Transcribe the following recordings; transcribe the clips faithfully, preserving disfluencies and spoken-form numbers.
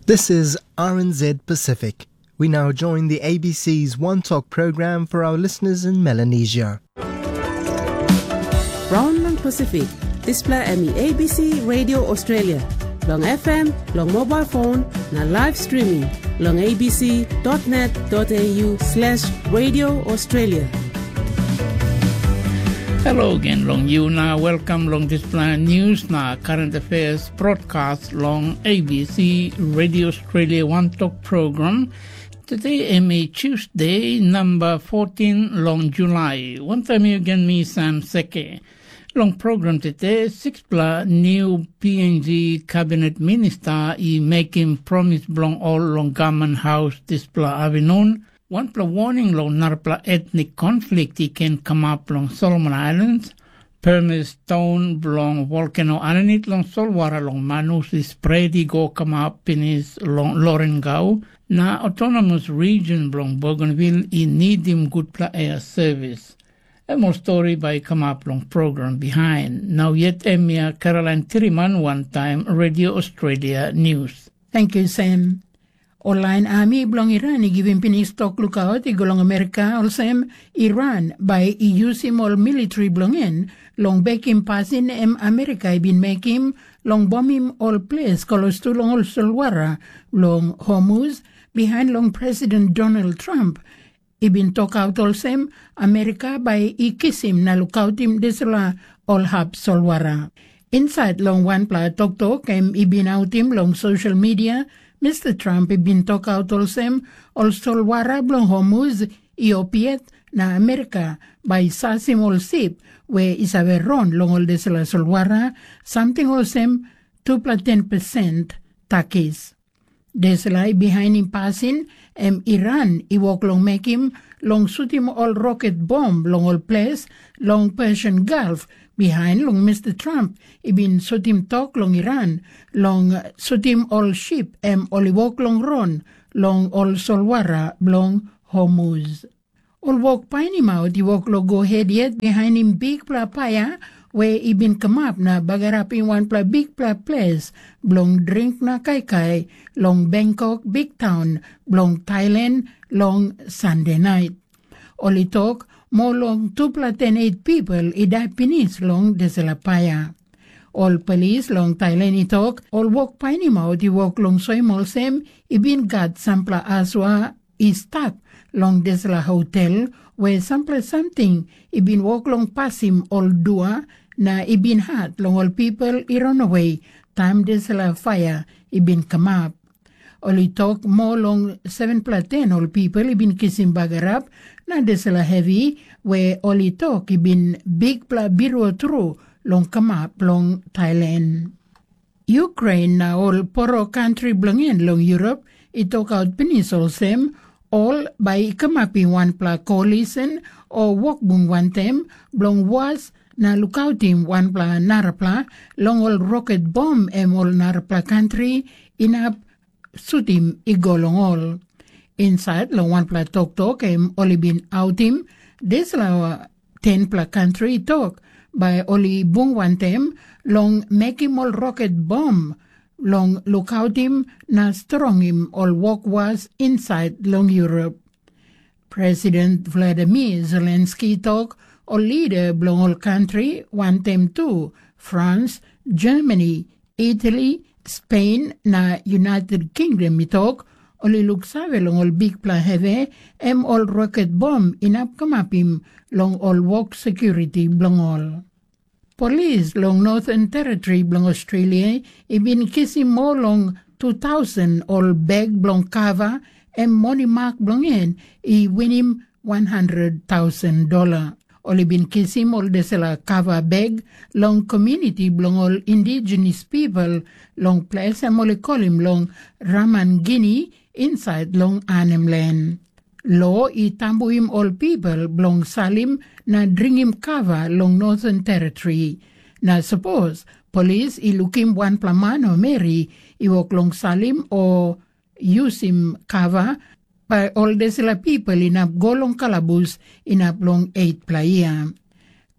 This is R N Z Pacific. We now join the A B C's One Talk program for our listeners in Melanesia. Raun long Pasifik, dispela em i A B C Radio Australia, long F M, long mobile phone, na live streaming, long A B C dot net dot A U slash Radio Australia. Hello again, long you na welcome long dispela news na current affairs broadcast long A B C Radio Australia One Talk program. Today em i Tuesday, number fourteen long July. Wantaim yu gen mi Sam Seke. Long program tete, sixpela new P N G cabinet minister i mekim promis bilong ol long gaman haus dispela avinun. Wanpela warning long narapela etnik konflik i ken kamap long Solomon Islands. Permis taun bilong volkeno aninit long solwara long manus i spret i go kamap pinis long Lorengau, na autonomous region bilong Bougainville i nidim gutpela air service. Em ol stori bai i kamap long program bihain. Nau yet em ya Caroline Tiriman wantaim Radio Australia News. Thank you, Sam. Ol lain ami bilong Iran i givim pinis tok lukaut i go long Amerika olsem, Iran bai i yusim ol militri bilong en long bekim pasin em Amerika i bin mekim long bomim ol ples klostu long ol solwara long Hormuz, bihain long President Donald Trump i bin tokaut olsem, Amerika bai i kisim na lukautim dispela ol hap solwara. Insait long wanpela toktok em i bin autim long sosial media, Mr Trump i bin tokaut olsem, ol solwara bilong Hormuz i opiet na Amerika bai i sasim ol sip we i save ron long ol dispela solwara, samting olsem tupela ten persen takis. Dispela i bihainim pasin em Iran i wok long mekim long sutim ol roket bom long ol ples long Persian Gulf, bihain long Mr Trump i bin sutim tok long Iran long sutim ol sip em ol i wok long ron long ol solwara bilong Hormuz. Ol wok painimaut i wok long go het yet bihainim bikpela paia we i bin kamap na bagarapim wanpela bikpela ples bilong dring na kaikai long Bangkok biktaun bilong Thailand long Sande nait. Ol i tok, moa long tupela ten eit pipel i dai pinis long dispela paia. Ol polis long Thailand i tok, ol wok painimaut i wok long soim olsem i bin gat sampela asua i stap long dispela hotel, we sampela samting i bin wok long pasim ol dua na i bin hat long ol pipel i ranawe taim dispela paia i bin kamap. Ol i tok moa long sevenpela ten ol pipel i bin kisim bagarap, na dispela hevi we ol i tok i bin bikpela birua tru long kamap long Thailand. Ukrain na ol poro kantri bilong en long Yurop i tokaut pinis olsem, ol bai i kamapim wanpela koalisen o wokbung wantaim bilong was na lukautim wanpela narapela long ol roket bom em ol narapela kantri inap sutim i go long ol. Insait long wanpela toktok em ol i bin autim, dispela tenpela kantri i tok bai ol i bung wantaim long mekim ol roket bom long lukautim na strongim ol wokwas insait long Yurop. President Vladimir Zelensky i tok, ol lida bilong ol kantri, wantaim tu Frans, Germany, Itali, Spen na United Kingdom i tok, ol i luksave long ol bikpela hevi, em ol roket bom inap kamapim long ol wok sekuriti bilong ol. Polis long Northern Territory bilong Australia i bin kisim moa long tu tausen ol bek bilong kava, em moni mak bilong en i winim wan handret tausen dola. Ol i bin kisim ol dispela kava bek long komuniti bilong ol indigenous pipel long ples em ol i kolim long Ramangini, insait long Arnhem Len. Lo i tambuim ol pipel bilong salim na dringim kava long Northern Territory. Na sapos polis i lukim wanpela man o meri i wok long salim o yusim kava, bai ol dispela pipel inap go long kalabus inap long etpela yia.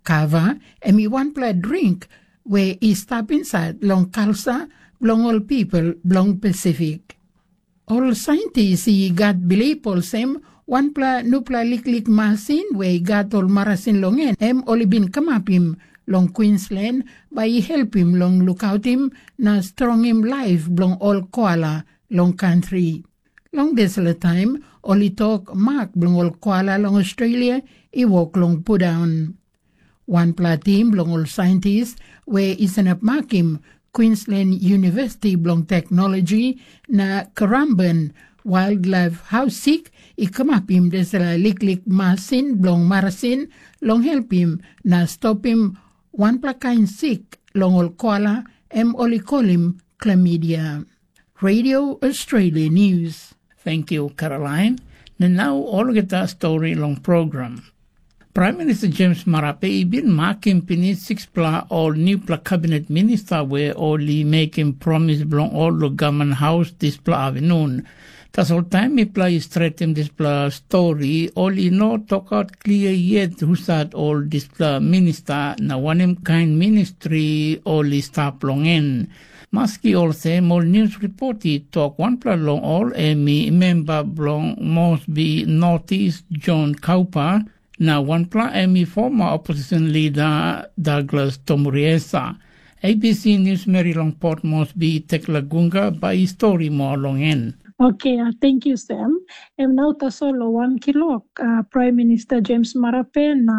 Kava em i wanpela dring we i stap insait long kalsa bilong ol pipel bilong Pasifik. Ol saintis i gat bilip olsem, wanpela nupela liklik masin we i gat ol marasin long en, em ol i bin kamapim long Queensland, bai i helpim long lukautim na strongim laip bilong ol koala long kantri. Long dispela taim, ol i tok mak bilong ol koala long Australia i wok long pundaun. Wanpela tim bilong ol saintis we i sanap makim Queensland University bilong Teknologi na Currumbin Wildlife House sik i kamapim dispela liklik masin bilong marasin long helpim na stopim wanpela kain sik long ol koala, em ol i kolim chlamydia. Radio Australia News. Thank you, Caroline. Na nau olgeta stori long program. Prime Minister James Marape i bin makim pinis sikspela ol newpela kabinet minista we ol i mekim promis bilong ol long gavman haus dispela avinun. Tasol taim mipela i stretim dispela stori, ol i no tokaut klia yet husat ol dispela minista na wanem kain ministri ol i stap long en. Maski olsem, ol nius ripot i tok wanpela long ol em i memba bilong Mosbi Notis, John Kaupa, na wanpela em i forma opposition lida Douglas Tomuriesa. A B C niusmeri long Port Moresby, Tekla Gunga, bai i stori moa long en. Oke, uh, tenkyu Sam. Em nau tasol long wan kilok, uh, Prime Minister James Marape na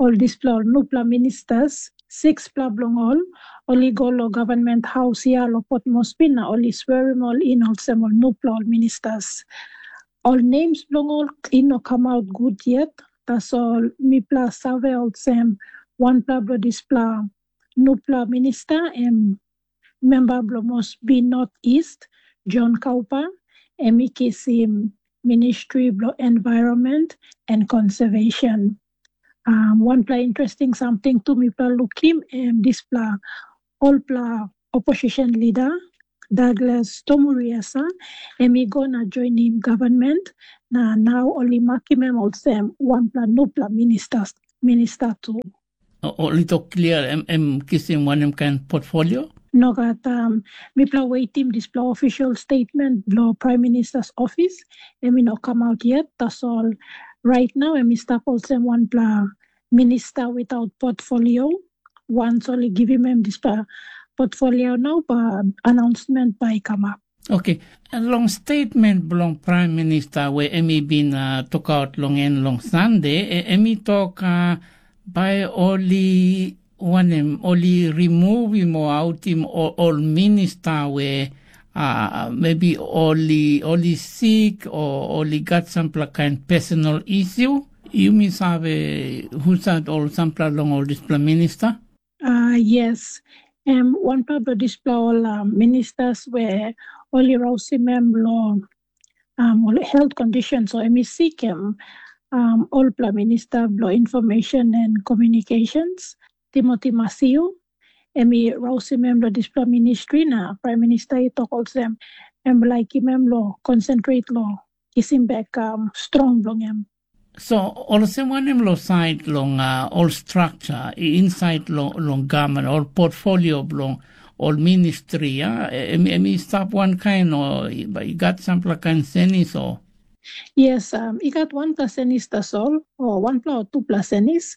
ol dispela ol nupela ministers, sikspela bilong ol, ol i go long gavman haus ya long Port Moresby na ol i swerim ol in olsem ol nupela ol ministers. Ol names bilong ol i no kamaut gut yet, tasol mipela save olsem wanpela bilong dispela nupela minista em memba bilong Mosbi North East, John Kaupa, em i kisim Ministri bilong Environment and Conservation. Um, wanpela interesting samting tu mipela lukim em dispela olpela opposition leader, Douglas Tomuriasa, em i go na joinim government, na nau ol i makim em olsem wanpela nupela minister, minister tu. O, ol i tok klia em, em kisim wanem kain portfolio? Nogat, um, mipela waitim dispela official statement bilong Prime Minister's office, em i no kamaut yet, tasol right now em i stap olsem wanpela minister without portfolio. Once ol i givim em dispela portfolio nau, ba announcement bai i kamap. Oke, long statement bilong Prime Minister we em i bin uh, tokaut long en long Sande, e- em i tok uh, bai ol i wanem, ol i removim o autim ol, ol minister we uh, maybe ol i, ol i sik o ol i gat sampela kain personal issue. Yumi save husat ol sampela long ol dispela minister? Uh, yes, em wanpela bilong dispela ol uh, ministers we ol i rausim em long um, ol health conditions o em i sikim um, olpela minister bilong information and communications, Timothy Masiu, em i rausim em long dispela ministri na prime minister i tok olsem, em laikim em lo concentrate lo kisim bek um, strong bilong em. So, olsem wanem lo sait long uh, ol structure i insait long, long government, ol portfolio bilong ol ministri, ya? Em, em i stap wankain o i gat sampela kain senis o? Yes, um, i gat wanpela senis tasol, o wanpela o tupela senis.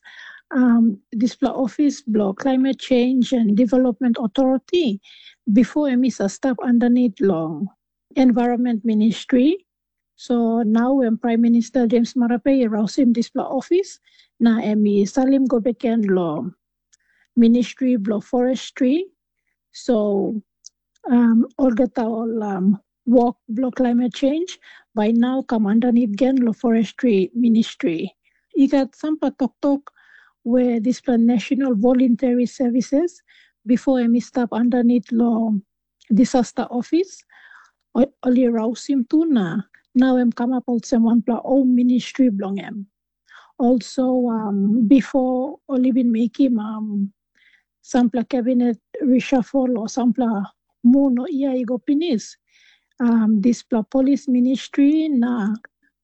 Um, dispela ofis bilong Climate Change and Development Authority, before em i sa stap underneath long Environment Ministry. So nau em Prime Minister James Marape i rausim dispela ofis, na em i salim go beken long Ministry bilong Forestry. So um, olgeta ol um, wok bilong climate change bai nau kam underneath gen long Forestry Ministry. I gat sampela toktok we dispela National Voluntary Services, before em i stap underneath long Disaster Office, ol i rausim tu na nau em kamap olsem wanpela home ministry bilong em. Also, um, before ol i bin mekim um, sampela cabinet reshuffle o sampela mun o ia i go pinis, um, dispela police ministry na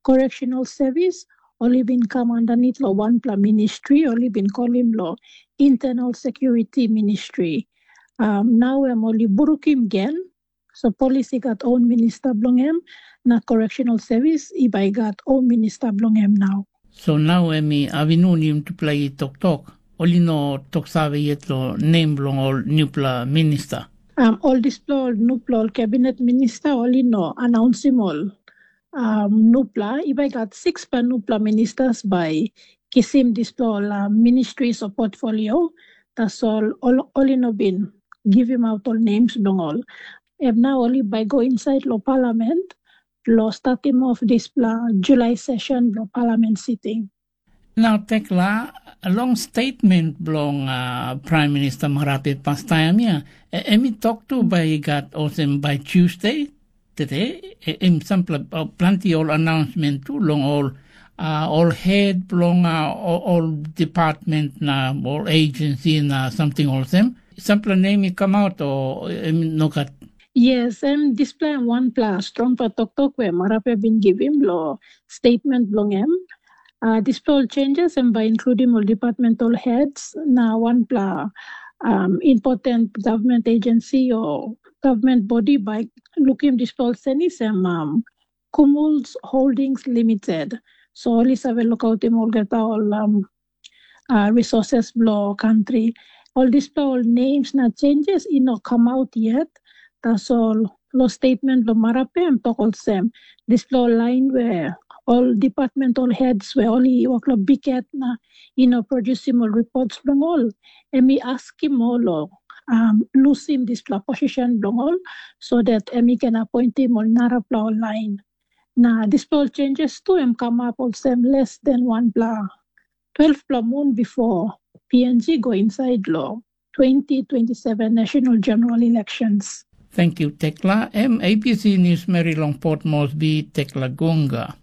correctional service, ol i bin kam underneath lo wanpela ministry, ol i bin kolim lo internal security ministry. Um, nau em ol i burukim gen, So polis i gat own minista bilong em, na correctional service i bai i gat own minista bilong em nau. So nau em i avinunim tupela i toktok, ol i no toksave yet long nem bilong ol nupela minista. Um, ol dispela ol nupela ol kabinet minista ol i no anaunsim ol um, nupela. I bai gat sikspela nupela ministas bai kisim dispela ol uh, ministries o portfolio. Tasol ol, ol i no bin givim aut ol names bilong ol. Em na ol i bai go insait long palament long statim of dispela Julai session bilong palament siting. Nau tekla, long statement bilong uh, Prime Minister Marape pastaim ya, em i tok tu bai i gat olsem bai Tuesday, tete, em sampela planti ol announcement tu long ol uh, ol head bilong uh, ol department na ol agency na something olsem. Sampela nem i come out o em no gat. Yes, em dispela em wanpela strongpela toktok we Marape bin givim lo statement bilong em. Uh, dispela ol changes em bai includim ol departmental heads na wanpela um, important government agency o government body bai lukim dispela ol senis em um, Cumulus Holdings Limited. So ol i save lukautim olgeta ol um, uh, resources bilong country. Ol dispela ol names na changes i no come out yet. Tasol lo statement lo Marape em tok olsem, dispela ol lain we ol department ol heads we ol i wok lo biket na i no produsim ol reports bilong ol, em i askim ol lo um, lusim dispela position bilong ol, so that em i ken appointim ol narapela ol lain. Na dispela ol changes tu em kamap olsem less than wanpela twelvepela mun bipo P N G go insait long twenty twenty-seven National General Elections. Thank you, Tekla. Em A B C News Mary long Port Moresby, Tekla Gunga.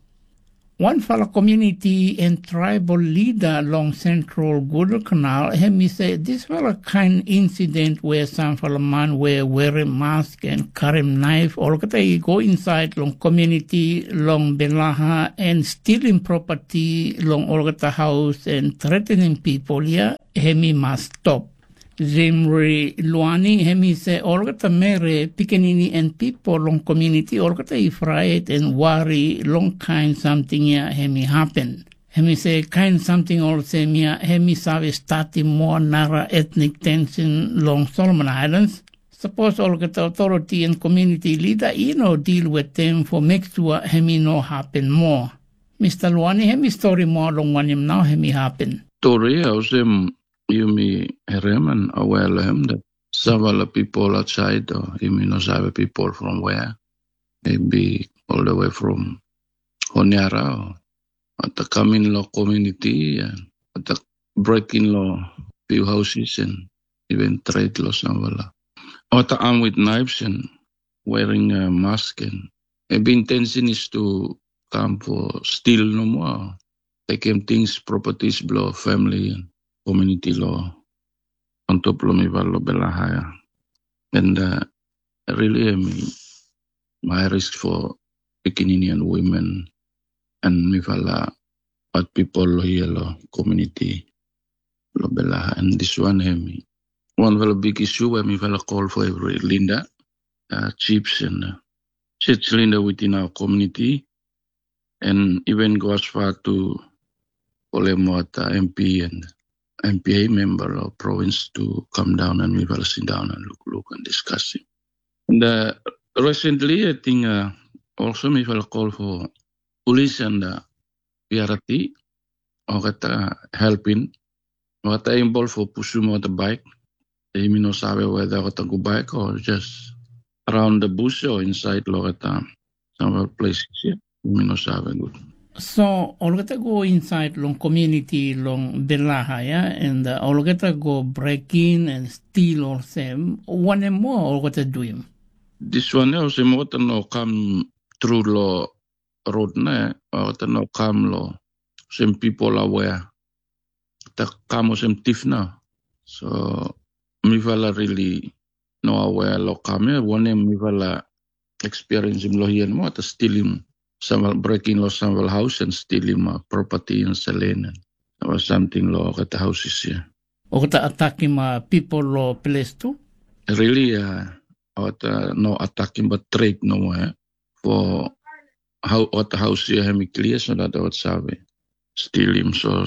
Wanpela community and tribal leader long Central Guadalcanal, em i sê dispela kain insident where sampela man we wearing mask and karim knife olgeta i go inside long community long Belaha and stealing property long olgeta house and threatening people ya, em i mas stop. Zimri Luani, em i sê olgeta mere, pikinini and people long community olgeta i frait and wari long kain samting ya em i happen. Em i sê kain samting olsem ya em i save statim moa nara etnik tension long Solomon Islands. Sapos olgeta authority and community leader i no deal with them for make sure em i no happen more. Mister Luani, em i story moa long wanem nau em i happen. Story olsem yumi hereman aware lo hem that sampela people outside o yumi no save people from where, maybe all the way from Honiara o ata kamin lo community and ata breaking lo few houses and even trade lo sampela. Ata armed with knives and wearing a mask and maybe intention is to come for steal no more. Taking things, properties below family and community law on top lo mi val lo belaha ya. And uh, really, I mean, my risk for pikinini and women and mi fala at people lo here lo community lo belaha. And this one, hemi. One fala big issue where mi fala call for every Linda, uh, chiefs and uh, church Linda within our community. And even go as far to Polemuata M P and M P A member of province to come down and we will sit down and look, look and discuss it. And uh, recently, I think uh, also we will call for police and uh, P R T, or get uh, helping, what I involved for push him out the bike. They may not save whether what go bike or just around the bush or inside Loretta. Some places here, we may not save good. So, olgeta go inside long community long Belaha, ya, and uh, olgeta go break in and steal olsem. Wanem more olgeta do him? This one, ya, olsem olgeta no come through lo road na, olgeta no come lo same people aware. Ta come olsem thief na. So, mi fala really no aware lo come ya, wanem mi fala experience lo here mo ta stealing some breaking lo some house and stealing uh, property and selling and or something lo kata houses here. Okta atakim uh, people lo place tu? Really, uh, ot uh, no atakim bat trade no more for how ot house here hem clear so that ot save still him so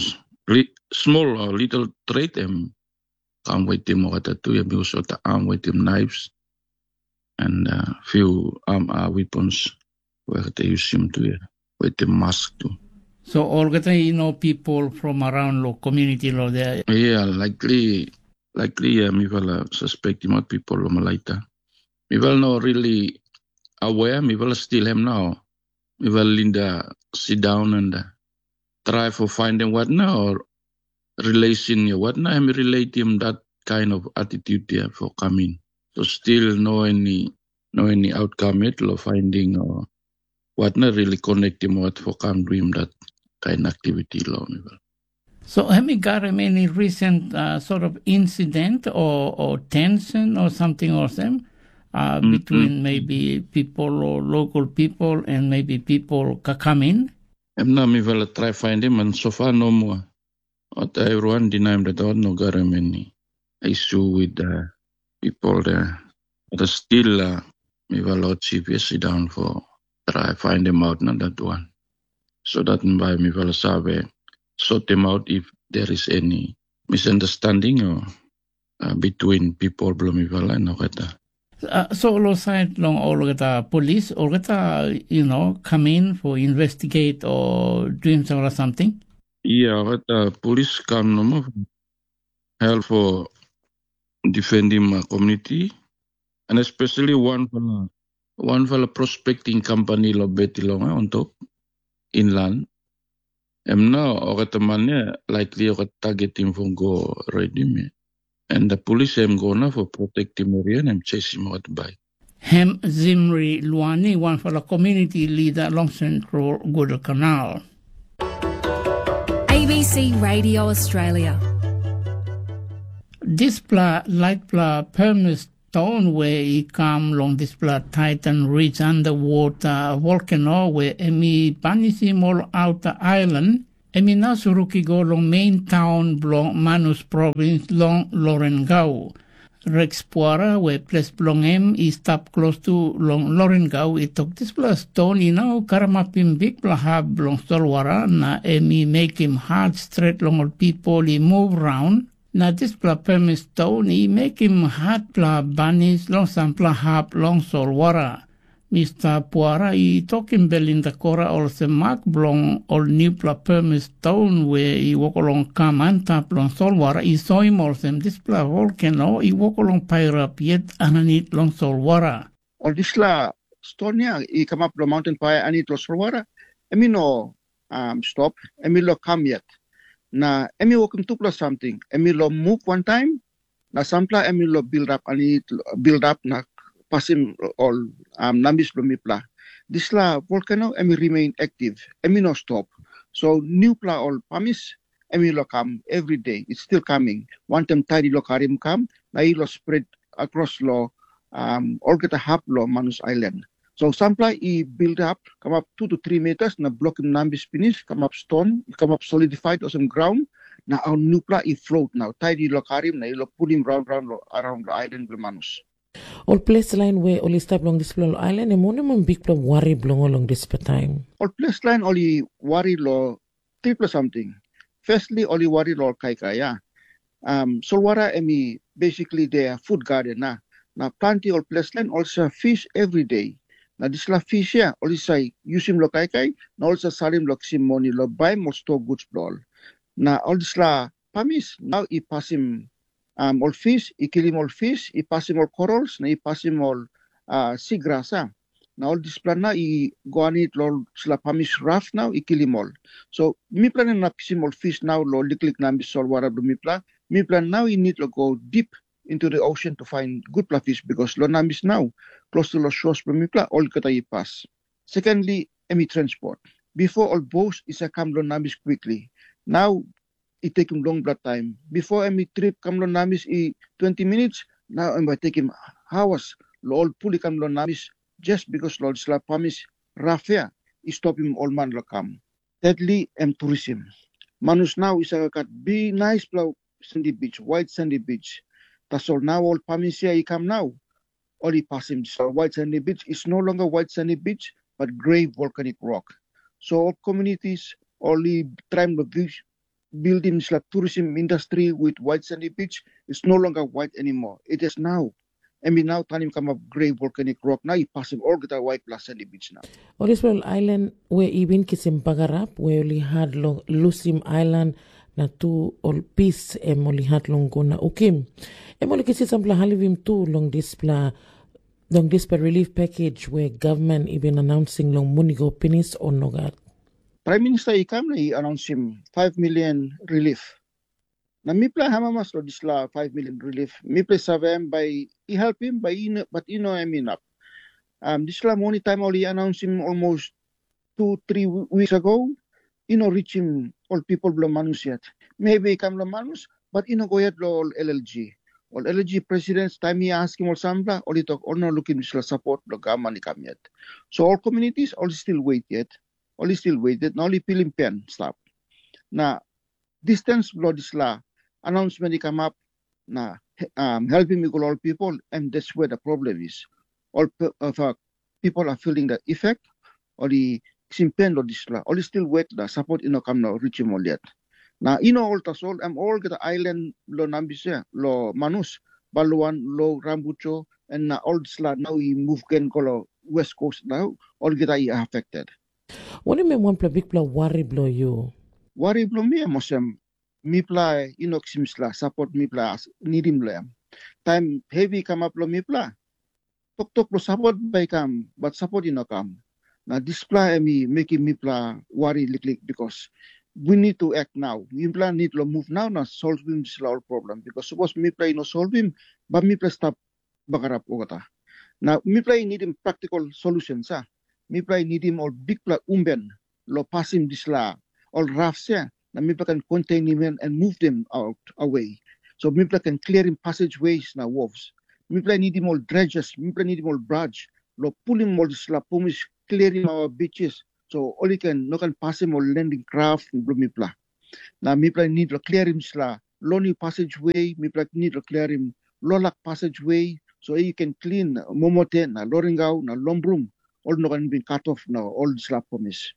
li, small or little trade em kam waitim ot tu ya because ot am waitim knives and uh, few um, uh, weapons where they use him to ya waitim mask too. So olgeta you know people from around lo community lo there. Yeah, likely likely yeah, mi fala suspect him out people lo malaita. Mi fala no really aware, mi fala still him now. Mi fala linda sit down and uh, try for finding what now or relation ya what na em relate him that kind of attitude ya for coming. So still no any no any outcome yet lo finding or what na really connect him what for come do him that kind activity lo mi. So have you got him any recent uh, sort of incident or, or tension or something or them uh, mm-hmm. between maybe people or local people and maybe people Kakamin? Em na mi vala try find him and so far no more. Ot everyone deny him that ot no got him any issue with the people there. But still uh, mi vala ot chief yes sit down for try find him out na that one. So that by mi vala save sort him out if there is any misunderstanding or uh, between people bilong mi vala na kata. Uh, so lo side long olgeta police, olgeta you know come in for investigate or doing some or something. Yeah, olgeta police come nomo help for defending my community and especially one fala one fala prospecting company lo beti long eh, on top inland. Em na olgeta man ya likely olgeta targetim for go redim ya. And the police em go na for protectim area and em chasing out by. Hem Zimri Luani, one for the community leader along Central Guadalcanal. A B C Radio Australia. Dispela laitpela permis ston we i kam long dispela Titan Ridge underwater volcano we em i banisim ol outer island, em i na suruk i go long main taun bilong Manus provins long Lorengau. Rex Puara, we ples bilong em i stap klostu long Lorengau, i tok dispela ston i no karamapim bikpela hap bilong solwara, na em i mekim hat stret long ol pipel i muv raun. Na dispela permis ston i mekim hatpela banis long sampela hap long solwara. Mista Puara i tokim Belinda Kora olsem mak bilong ol nupela permis ston we i wok long kam antap long solwara i soim olsem dispela volkeno i wok long pairap yet aninit long solwara. Ol dispela ston ya i kamap long maunten paia aninit long solwara, em i no um, stop, em i lo kam yet. Na em i wokim tupela samting, em i lo muv wantaim, na sampela em i lo bildap aninit bildap na pasim ol um, nambis bilong mipela. Dispela volkano em i remain aktif, em i no stop. So nupela ol pamis em i lo kam everyday, it's still coming. Wantaim taid i lo karim kam, na i lo spread across lo um, olgeta hap lo Manus Island. So sampela i build up kamap two to three meters na blokim nambis pinis, kamap stone, kamap solidified olsem ground, na ol nupela i float nau. Taid i lo karim na i lo pulim raun raun lo around lo island bilong Manus. Ol ples lain we ol i stap long dispela ol ailan em wanem ol bikpela wari bilong ol long dispela taim? Ol ples lain ol i wari long tripela samting. Firstly, ol i wari long ol kaikai, ya. Um, solwara em i basically their food garden, na, na planti ol ples lain ol sa fish every day. Na dispela fish ya, ol i sa yusim long kaikai, na ol sa salim long kisim moni long baim ol store goods bilong ol. Na ol dispela pamis nau i pasim um, ol fish, i kilim ol fish, i pasim ol corals, na i pasim ol uh, seagrass, a. Na ol dispela na i go aninit long ol dispela pamis raf nau i kilim ol. So mipela na inap kisim ol fish nau long liklik nambis solwara bilong mipela. Mipela nau i nid long go deep into the ocean to find gutpela fish because long nambis nau close to long shores bilong mipela olgeta i pas. Secondly, em i transport. Before ol boats i sa kam long nambis quickly. Now i tekim longpela taim. Bipo em i trip kam long namis i twenty minits, nau em bai tekim haus long ol pul i kam long namis, just bikos long dispela pamis rafia i stopim ol man long kam. Tetli em turisim. Manus nau i save gat bi naispela sandi bich, wait sandi bich. Tasol nau ol pamis ya i kam nau, ol i pasim dispela white sandy beach is no longer white sandy beach, but grey volcanic rock. So ol communities ol i traim long bildim dispela tourism industry with white sandy beach is no longer white anymore. It is now. Em i nau tanim kamap grey volcanic rock na i pasim olgeta white plus sandy beach now. Ol dispela ailan we i bin kisim bagarap we ol i hat long lusim ailan na tu ol pis em ol i hat long go na ukim. Em ol i kisim sampela halivim tu long dispela long dispela relief package we gavman i bin announcing long mun i go pinis o nogat. Prime Minister i kam na i announcing five million relief. Na mipela amamas long dispela five million relief, mipela save em bai i helpim, bai i no, but i no em inap. Um, dispela moni taim ol i announcing almost two, three weeks ago, i no reaching ol people bilong manus yet. Maybe i kam long manus, but i no go yet long ol L L G. Ol L L G president taim i askim ol sampela, ol i tok ol no lukim dispela support bilong gavman i kam yet. So ol communities ol still wait yet. Ol still wait yet, na ol i pilim pen stap. Na distance bilong dispela announcement i kamap na um, helpim i go long ol people, and that's where the problem is. All pe- of our people are feeling the effect, ol i kisim pen long dispela, ol i still wet na support i no kam na richim ol yet. Na i no ol tasol, em olgeta ailan lo Nambise, lo Manus, Baluan, lo Rambucho, and na ol dispela nau i move gen go lo West Coast nau, olgeta i affected. Wanem em wanpela bikpela wari bilong yu? Wari bilong mi em olsem, mipela i no kisim dispela sapot mipela nidim long em. Taim hevi i kamap long mipela, toktok long sapot bai i kam, bat sapot i no kam. Na dispela em i mekim mipela wari liklik, bikos we need to act now. Mipela need long move nau na solvim dispela ol problem, bikos sapos mipela i no solvim, bai mipela stap bagarap olgeta. Na mipela i nidim praktikal solusen sa. Mipela i nidim ol bikpela umben long pasim dispela ol rafs ya, na mipela kan konteinim en and move them out away. So mipela kan kliarim passage ways na wharfs. Mipela i nidim ol dredges, mipela i nidim ol barge long pulim ol dispela pumis, kliarim our beaches. So ol i ken no kan pasim ol landing craft bilong mipela. Na mipela i nid long kliarim dispela lonely passageway, mipela i nid long kliarim lolak passageway, so i ken klin momote na loringau na lombrum, ol no ken bin kat of na ol dispela promis.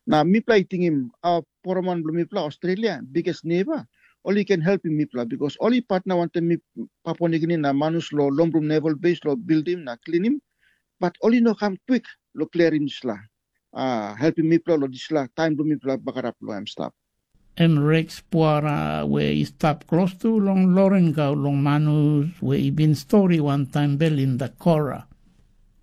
Na mipela i tingim a poroman bilong mipela Australia, biggest neighbor, ol i ken helpim mipela, because ol i partner wantaim mi Papua Nigini na manus lo lombrum naval base lo bildim na klinim, but ol i no kam kwik lo kliarim dispela, uh, helpim mipela lo dispela taim bilong mipela bagarap lo em stap. Em Rex Puara we i stap klostu long Loringau long manus we i bin stori wantaim Belinda Kora.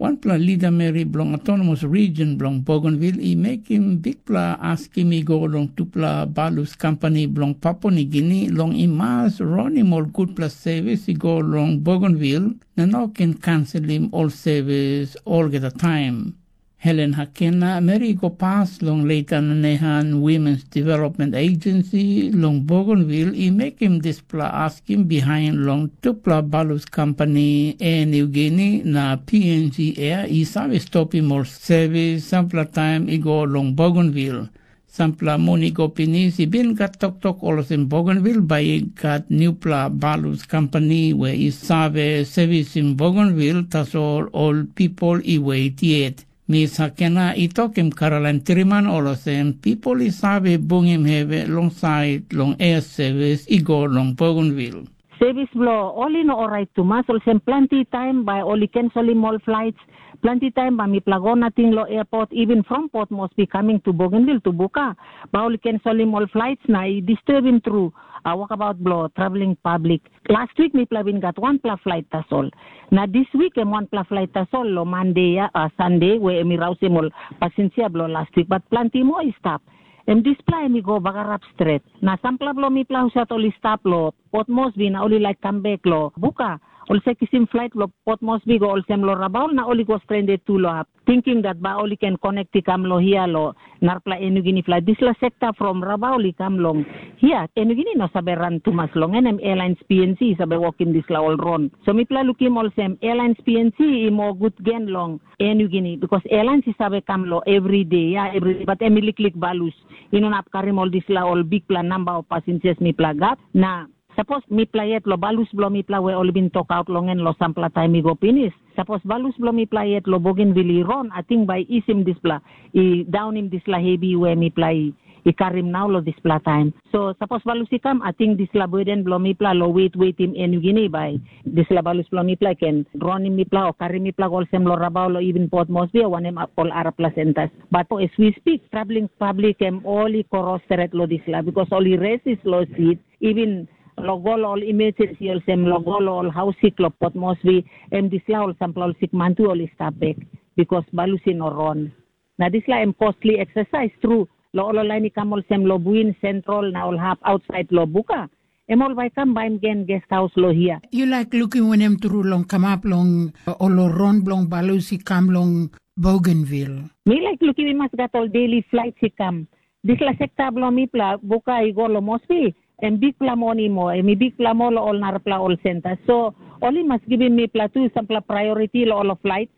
Wanpela lida meri bilong autonomous region bilong Bougainville i mekim bikpela askim i go long tupela balus kampani bilong Papua Nigini long i mas ronim ol gutpela sevis i go long Bougainville na no ken kanselim ol sevis olgeta taim. Helen Hakena, meri i go pas long Leitan Nehan Women's Development Agency long Bougainville i mekim dispela askim bihain long tupela balus kampani Air Niugini na P N G Air i save stopim ol sevis sampela taim i go long Bougainville. Sampela mun i go pinis i bin gat toktok olsem Bougainville bai i gat nupela balus kampani we i save sevisim Bougainville, tasol ol pipel i wet yet. Mis Hakena i tokim Caroline Triman olsem, pipel i save bungim hevi long sait long air sevis i go long Bougainville. Sevis bilong ol i no orait tumas, olsem planti taim bai ol i kenselim ol flaits, planti taim bai mipela go nating long airport, even from Port Moresby coming to Bougainville to Buka, bai ol i kenselim ol flaits na i disturbim tru, uh, wokabaut bilong traveling public. Last week mipela bin gat wanpela flait tasol. Na dis wik em wanpela flait tasol long Mande ya, uh, Sande, we em i rausim ol pasinsia bilong last week, bat planti moa i stap. Em dispela em i go bagarap stret. Na sampela bilong mipela husat ol i stap long Port Moresby na ol i laik kam bek long Buka, ol se kisim flait bilong Port Moresby go olsem long Rabaul na ol i go stranded tu long hap, tingting dat bai ol i ken konek i kam long hia long narapela Enugini flait. Dispela sekta from Rabaul i kam long hia, Enugini no save ran tumas long en, em Airlines P N C i save wokim dispela ol ron. So mipela lukim olsem Airlines P N C i moa gut gen long Air Niugini, bikos airlines i save kam long everyday, ya, everyday, bat em i liklik balus. I no inap karim ol dispela ol bikpela namba of passengers mipela gat. Na Sapos mipela yet long balus bilong mipela we ol i bin tokaut long en long sampela taim i go pinis, sapos balus bilong mipela yet long Bougainville i ron, ating bai i isim dispela, i daunim dispela hevi we mipela i, i karim nau long dispela taim. So sapos balus i kam, ating dispela burden bilong mipela long wet wetim en yugini bai dispela balus bilong mipela i ken ronim mipela o karim mipela go olsem long Rabaul o even Port Moresby o wanem ol arapela sentas. But as we speak, traveling public em ol i kros stret long dispela, because ol i resis long sit, even long go long ol emergency olsem long go long ol haus sik long Port Moresby, em dispela ol sampela ol sikman tu ol i stap bek, because balus i no ron. Na dispela em costly exercise tru, long ol lain i kam olsem long Buin Central na ol hap outside long Buka, em ol bai kam baim gen guest house long hia. Yu laik lukim wanem tru long kamap long ol ron bilong balus i kam long Bougainville? Mi laik lukim i mas gat ol daily flights i kam. Dispela sekta bilong mipela Buka i go long Moresby, em bikpela moni moa, em i bikpela moa long ol narapela ol senta. So ol i mas givim mipela tu sampela priority long ol flight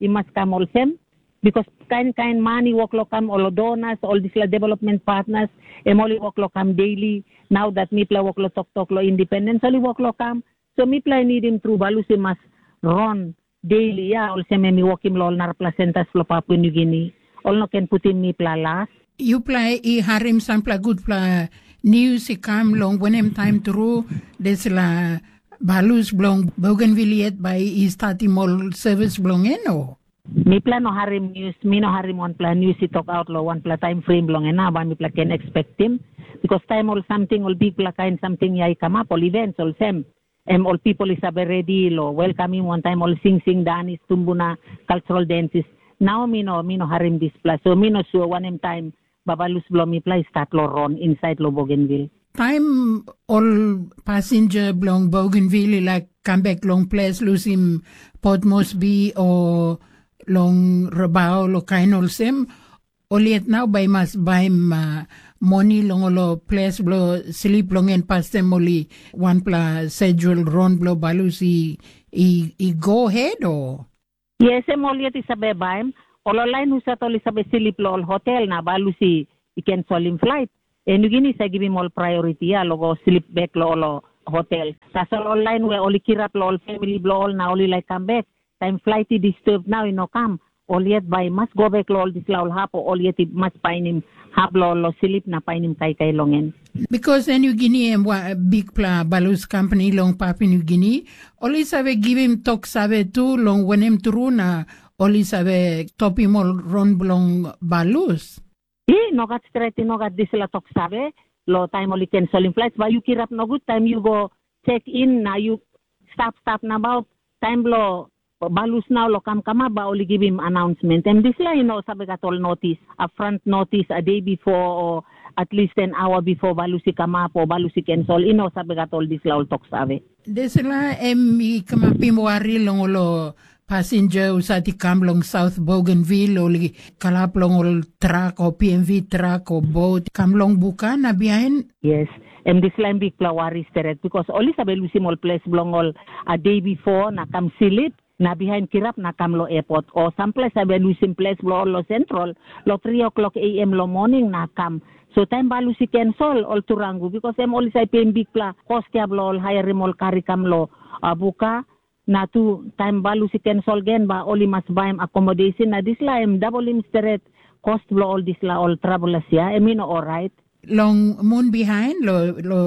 i mas kam olsem, because kain kain man i wok long kam, ol donors, ol dispela development partners, em ol i wok long kam daily. Nau dat mipela wok long toktok long independence, ol i wok long kam. So mipela i nidim tru balus i mas ron daily, ya, olsem em i wokim long ol narapela sentas bilong Papua Nugini. Ol no ken putim mipela las. Yupela i harim sampela gutpela nius i kam long wanem taim tru dispela balus bilong Bougainville yet bai i statim ol servis bilong en, o? Mipela no harim nius, mi no harim wanpela nius i tokaut long wanpela taim frim bilong en, na bai mipela ken ekspektim. Bikos taim ol samting, ol bikpela kain samting ya i kamap, ol events olsem, em ol pipel i save redi long welkamim wantaim ol singsing danis, tumbuna, cultural dances. Nau mi no, mi no harim dispela, so mi no sua wanem taim babalus bilong mipela i stat long ron insait long Bougainville. Taim ol pasinja bilong Bougainville i laik kam bek long ples lusim Port Moresby o long Rabaul o kain olsem, ol yet nau bai i mas baim uh, moni long ol ples bilong slip long en, pastaim ol i wanpela sejul ron bilong balus i, i, i go hed, o? Yes, em ol yet i save baim. Ol lain husat ol i save slip long ol hotel na balus i, i ken solim flait, em yugini i save givim ol priority ya long go slip bek long ol hotel. Tasol ol lain we ol i kirap long ol famili bilong ol na ol i laik kam bek, taim flait i disturb nau i no kam, ol yet bai i mas go bek long ol dispela ol hap, o ol yet i mas painim hap long ol long slip na painim kaikai long en. Bikos en yugini em bikpela balus kampani long Papua Nugini, ol i save givim tok save tu long wanem tru na ol i save topim ol ron bilong balus. I no gat stret, i no gat dispela tok save. Long taim ol i ken solim flait, bai yu kirap nogut taim yu go check in na yu stap stap nabaut. Taim bilong balus nau long kamkamap, bai ol i givim announcement. Em dispela i no save gat ol notis, a front notis, a day before, o at least an hour before balus i kamap o balus i cancel. I no save gat ol dispela ol tok save. Dispela em i kamapim wari long ol pasinja husat i kam long South Bougainville, ol i kalap long ol trak o P M V trak o bot kam long Buka na bihain. Yes, em dispela em bikpela wari stret, bikos ol i save lusim ol ples bilong ol a day before na kam slip, na bihain kirap na kam long airport, o sampela save lusim ples bilong ol long Central long three o'clock A M long morning na kam. So taim balus i cancel, ol turangu, bikos em ol i save peim bikpela kos ya bilong ol hairim ol kari kam long Buka. Na tu, taim balus i cancel gen, ba ol i mas baim accommodation, na dispela em dabolim stret kos bilong ol dispela ol travelers ya, em i no orait. Long mun bihain, lo, lo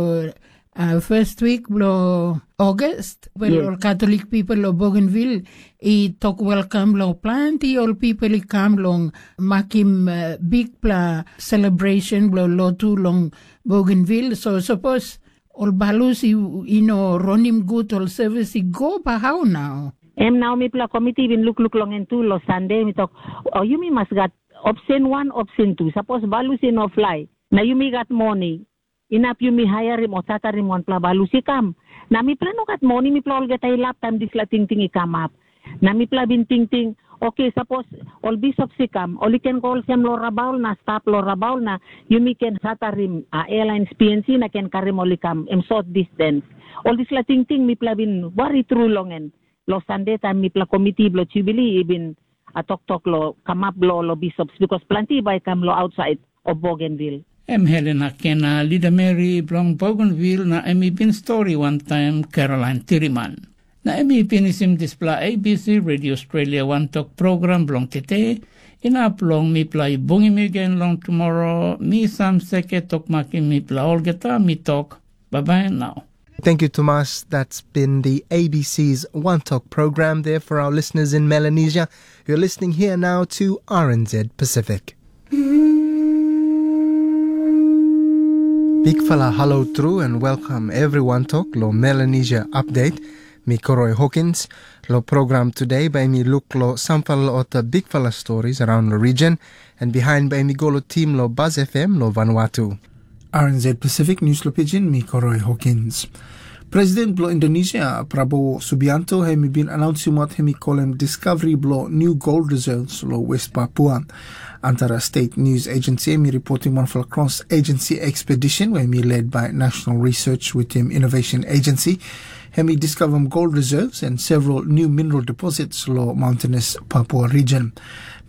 uh, first week bilong August, well, yeah, ol Catholic people lo Bougainville i tok welcome lo planti ol people i kam long makim uh, bikpela celebration bilong lotu long Bougainville. So suppose ol balus i, i no ronim gut ol servis i go, ba hau nau? Em nau mipela komiti bin lukluk long en tu long Sande, mi tok, o yumi mas gat opsen wan, opsen tu. Sapos balus i no flai, na yumi gat moni, inap yumi haiarim o tatarim wanpela balus i kam. Na mipela no gat moni, mipela olgeta i lap taim dispela tingting i kamap. Na mipela bin tingting, oke, sapos ol bisop i kam, ol i ken go olsem long Rabaul na stap long Rabaul, na yumi ken satarim a airlines P N C na ken karim ol i kam, em sot distance. Ol dispela tingting mipela bin wari tru long en. Long Sande taim mipela komiti bilong Jubilee i bin a toktok long kamap bilong ol bishops, bikos planti bai i kam long ausait o Bougainville. Em Helena Kena, lida meri bilong Bougainville, na em i bin stori wantaim Caroline Tiriman. Na em i pinisim dispela A B C Radio Australia wantok program bilong tete. Inap long mipela i bungim yu gen long tumora, mi Sam Seke tok makim mipela olgeta, mi tok, bye bye now. Thank you, Thomas. That's been the A B C's One Talk program there for our listeners in Melanesia. You're listening here now to R N Z Pacific. Big fala hello through and welcome everyone talk lo Melanesia update. Mi Koroi Hawkins. Lo program today by mi look lo samfala ota big fala stories around the region, and behind by mi go lo team lo Buzz F M lo Vanuatu. R N Z Pacific News lo Pidgin, mi Koroi Hawkins. President blo Indonesia, Prabowo Subianto, hem i bin announce wat hem i kolem discovery blo new gold reserves lo West Papua. Antara State News Agency hem i reporting wanfala cross agency expedition where hem i led by National Research with him Innovation Agency. Hem i discover gold reserves and several new mineral deposits lo mountainous Papua region.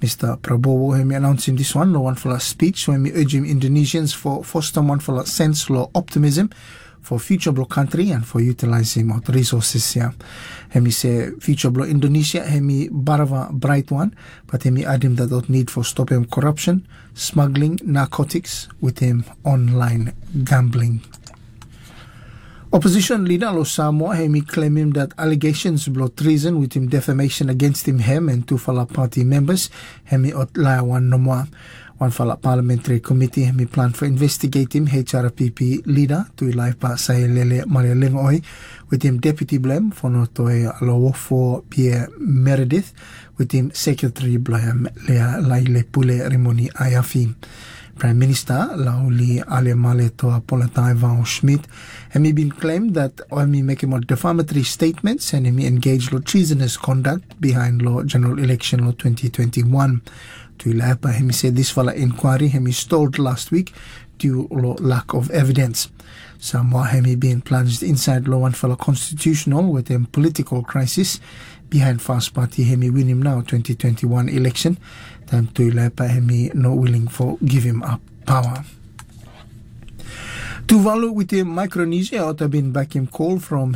Mister Prabowo hem i announcing this one lo wanfala speech where hem i urging Indonesians for foster wanfala sense lo optimism for future blo country and for utilizing out resources here. Hem i say future blo Indonesia hem i barava bright one, but hem i adim that dot need for stop him corruption, smuggling, narcotics with him online gambling. Opposition leader lo Samoa hem i claimim that allegations blo treason with him defamation against him hem and tufala party members hem i ot laia wan nomoa. Wanfala parliamentary committee hem i plan for investigating H R P P leader Tuilaipa Sailele Marialengoi with him deputy blem for notoi Lowofo Pierre Meredith with him secretary blem Lea Laile Pule Rimoni Ayafi. Prime Minister Lauli Alemale Toa Polatai Vao Schmidt hem i bin claim that hem i mekim ol defamatory statements and hem i engage lo treasonous conduct behind lo general election lo twenty twenty-one. Tuilaipa hem i say this fala inquiry hem i stalled last week due lo lack of evidence. Samoa hem i bin plunged inside lo wanfala constitutional with him political crisis behind Fast Party hem i winim now twenty twenty-one election. Time Tuilaipa hem i no willing for give him up power. Tuvalu with him Micronesia ota bin back him call from